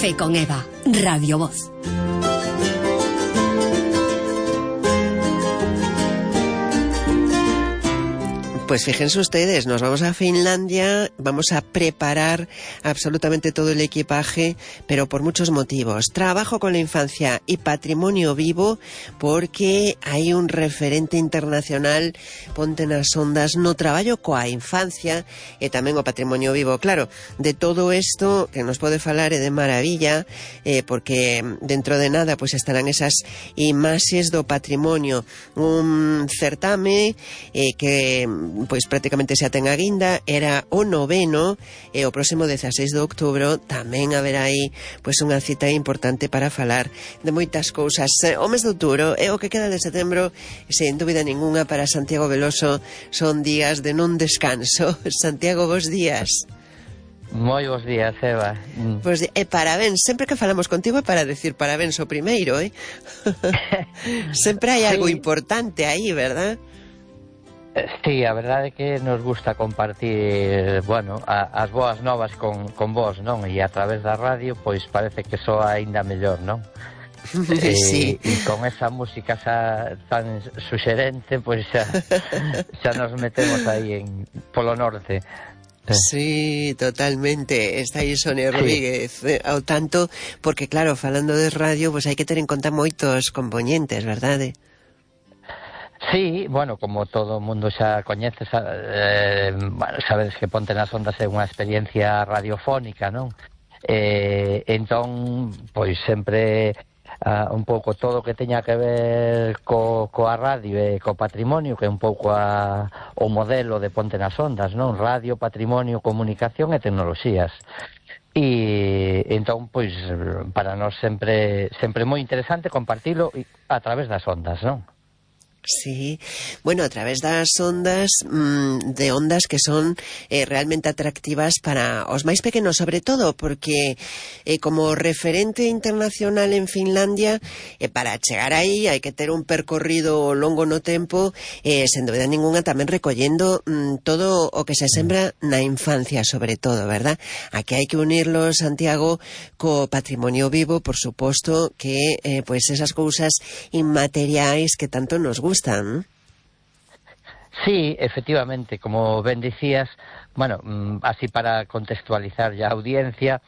Café con Eva, Radio Voz. Pues fíjense ustedes, nos vamos a Finlandia, vamos a preparar absolutamente todo el equipaje, pero por muchos motivos. Trabajo con la infancia y patrimonio vivo, porque hai un referente internacional, ponte nas ondas, no traballo coa infancia e tamén o patrimonio vivo. Claro, de todo isto que nos pode falar é de maravilla, porque dentro de nada pues estarán esas imaxes do patrimonio, un certame que pois prácticamente xa ten a guinda, era o 9º, e o próximo 16 de outubro tamén haberá aí pois unha cita importante para falar de moitas cousas. O mes de outubro e o que queda de setembro, sen dúbida ninguna, para Santiago Veloso son días de non descanso. Santiago, bos días. Moi bons días, Eva. Pois, parabéns, sempre que falamos contigo é para decir parabéns o primeiro, sempre hai algo importante aí, verdad? Sí, a verdade é que nos gusta compartir, bueno, as boas novas con vos, non? E a través da radio, pois parece que soa aínda mellor, non? Sí. E con esa música tan suxerente, pois xa nos metemos aí polo norte. Sí, totalmente. Está aí Sonia Rodríguez ao tanto, porque claro, falando de radio, pois hai que ter en conta moitos componentes, verdade? Sí, bueno, como todo o mundo xa coñece, sabedes que Ponte nas Ondas é unha experiencia radiofónica, non? Entón, pois sempre un pouco todo o que teña que ver coa radio e co patrimonio, que é un pouco o modelo de Ponte nas Ondas, non? Radio, patrimonio, comunicación e tecnoloxías. E entón, pois, para nós sempre moi interesante compartilo a través das ondas, non? Sí, bueno, a través das ondas, de ondas que son realmente atractivas para os máis pequenos, sobre todo, porque como referente internacional en Finlandia, para chegar aí hai que ter un percorrido longo no tempo, sen dúbida ninguna tamén recollendo todo o que se sembra na infancia, sobre todo, verdad? Aquí hai que unirlo, Santiago, co patrimonio vivo, por suposto, que pois esas cousas inmateriais que tanto nos gustan. Sí, efectivamente, como ben dicías, bueno, así para contextualizar ya a audiencia,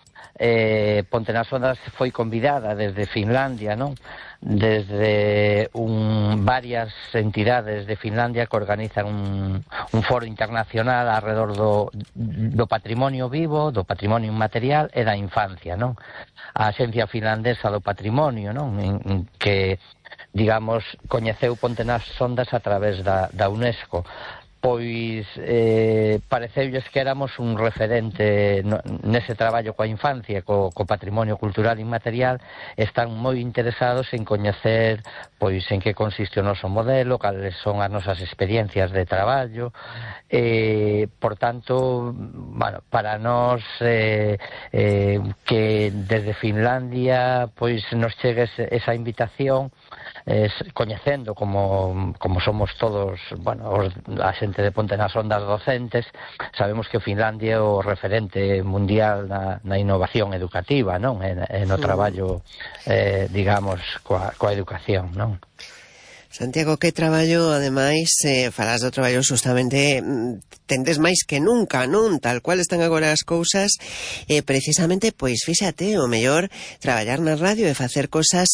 Ponte nas Ondas foi convidada desde Finlandia, non? Desde varias entidades de Finlandia que organizan un foro internacional alrededor do patrimonio vivo, do patrimonio inmaterial e da infancia, non? A Axencia Finlandesa do Patrimonio, non? Que, digamos, coñeceu Ponte nas Ondas a través da UNESCO. Pois pareceulles que éramos un referente nese traballo coa infancia, co patrimonio cultural inmaterial. Están moi interesados en coñecer pois en que consiste o noso modelo, cales son as nosas experiencias de traballo. Por tanto, bueno, para nós que desde Finlandia pois nos chegue esa invitación, coñecendo como somos todos, bueno, a xente de Ponte nas Ondas docentes, sabemos que Finlandia é o referente mundial na innovación educativa, non? E no traballo, digamos, coa educación, non? Santiago, que traballo, ademais, falas do traballo justamente, tendes máis que nunca, non? Tal cual están agora as cousas, precisamente, pois, fíxate, o mellor traballar na radio e facer cosas,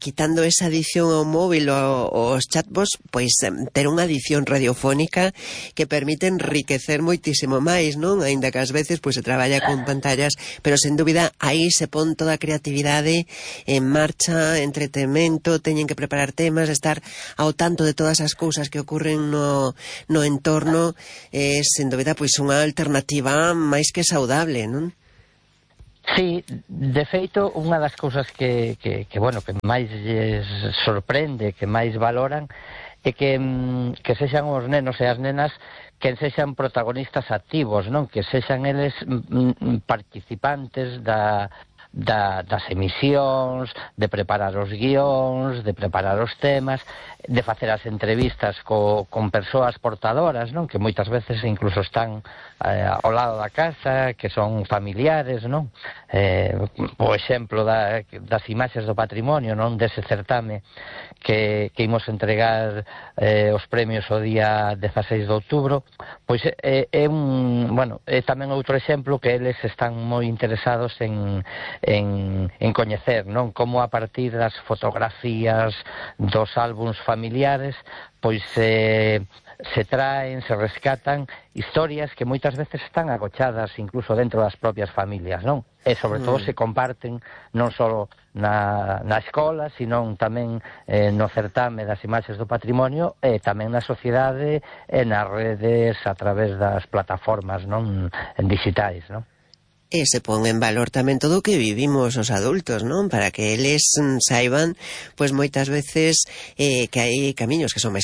quitando esa adición ao móvil ou aos chatbots, pois, ter unha adición radiofónica que permite enriquecer moitísimo máis, non? Aínda que ás veces, pois, se traballa con pantallas, pero, sen dúbida, aí se pon toda a creatividade en marcha, entretemento, teñen que preparar temas, estar ao tanto de todas as cousas que ocurren no entorno, sen dúbida, pois unha alternativa máis que saudable, non? Sí, de feito, unha das cousas que bueno, que máis lles sorprende, que máis valoran, é que sexan os nenos e as nenas que sexan protagonistas activos, non? Que sexan eles participantes das emisións, de preparar os guións, de preparar os temas, de facer as entrevistas con persoas portadoras, non? Que moitas veces incluso están ao lado da casa, que son familiares, non? O exemplo das imaxes do patrimonio, non? Dese certame que imos entregar os premios o día 16 de outubro, pois é tamén outro exemplo que eles están moi interesados en coñecer, non? Como a partir das fotografías dos álbums familiares, pois se traen, se rescatan historias que moitas veces están agochadas incluso dentro das propias familias, non? E sobre todo se comparten non só na escola, sino tamén no certame das imaxes do patrimonio e tamén na sociedade e nas redes a través das plataformas, non? En digitais, non? E se pon en valor tamén todo o que vivimos os adultos, non? Para que eles saiban, pois moitas veces que hai camiños que son máis